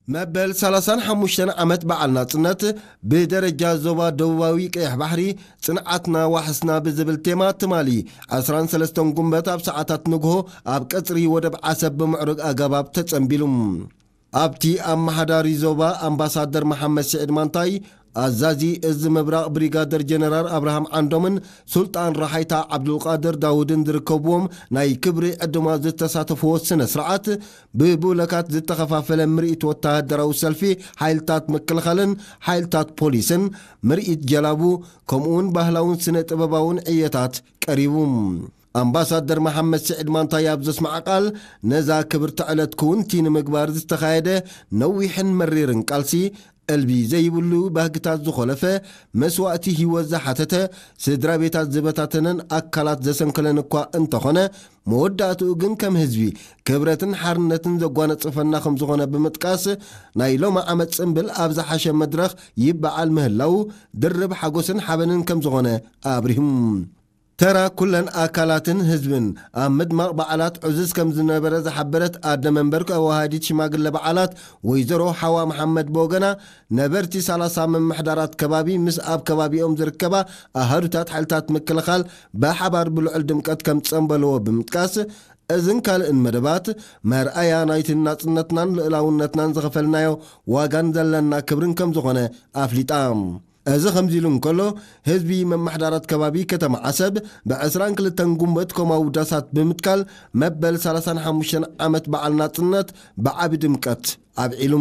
መበል ሰላሳን ሓሙሽተን ዓመት በዓል ናጽነት ብደረጃ ዞባ ደቡባዊ ቀይሕ ባሕሪ ጽንዓትና ዋሕስና ብዝብል ቴማ ትማሊ ዕስራን ሰለስተን ጉንበት ኣብ ሰዓታት ንግሆ ኣብ ቀጽሪ ወደብ ዓሰብ ብምዕሩግ ኣገባብ ተጸንቢሉ። ኣብቲ ኣመሓዳሪ ዞባ ኣምባሳደር መሓመድ ስዒድ ማንታይ፣ ኣዛዚ እዚ ምብራቕ ብሪጋደር ጀነራል ኣብርሃም ዓንዶምን ሱልጣን ራሓይታ ዓብዱልቃድር ዳውድን ዝርከብዎም ናይ ክብሪ ዕድማ ዝተሳተፍዎ ስነ ስርዓት፣ ብቡለካት ዝተኸፋፈለ ምርኢት ወተሃደራዊ ሰልፊ ሓይልታት ምክልኻልን ሓይልታት ፖሊስን፣ ምርኢት ጀላቡ፣ ከምኡውን ባህላውን ስነ ጥበባውን ዕየታት ቀሪቡ። ኣምባሳደር መሓመድ ስዒድ ማንታይ ኣብ ዘስማዓ ቃል፣ ነዛ ክብርቲ ዕለት ክውንቲ ንምግባር ዝተኻየደ ነዊሕን መሪርን ቃልሲ፣ እልቢ ዘይብሉ ባህግታት ዝኾለፈ፣ መስዋእቲ ህይወት ዝሓተተ፣ ስድራ ቤታት ዝበታተነን ኣካላት ዘሰንከለን እኳ እንተኾነ፣ መወዳእትኡ ግን ከም ህዝቢ ክብረትን ሓርነትን ዘጓነጽፈና ከም ዝኾነ ብምጥቃስ፣ ናይ ሎሚ ዓመት ጽምብል ኣብ ዝሓሸ መድረኽ ይበዓል ምህላው ድርብ ሓጎስን ሓበንን ከም ዝኾነ ኣብሪሁም። ተራ ኩለን ኣካላትን ህዝብን ኣብ ምድማቕ በዓላት ዕዙዝ ከም ዝነበረ ዝሓበረት ኣደ መንበር ኣዋሃዲት ሽማግለ በዓላት ወይዘሮ ሓዋ መሓመድ ብወገና፣ ነበርቲ ሰላሳ ምምሕዳራት ከባቢ ምስ ኣብ ከባቢኦም ዝርከባ ኣሃዱታት ሓይልታት ምክልኻል ብሓባር ብልዑል ድምቀት ከም ጸንበልዎ ብምጥቃስ፣ እዝን ካልእን መደባት መርኣያ ናይቲ ናጽነትናን ልእላውነትናን ዝኸፈልናዮ ዋጋን ዘለና ክብርን ከም ዝኾነ ኣፍሊጣ። እዚ ከምዚ ኢሉ እንከሎ፣ ህዝቢ መማሕዳራት ከባቢ ከተማ ዓሰብ ብ ዕስራን ክልተን ጉንበት ኮማዊ ዳሳት ብምትካል መበል ሰላሳን ሓሙሽተን ዓመት በዓል ናጽነት ብዓቢ ድምቀት ኣብዒሉ።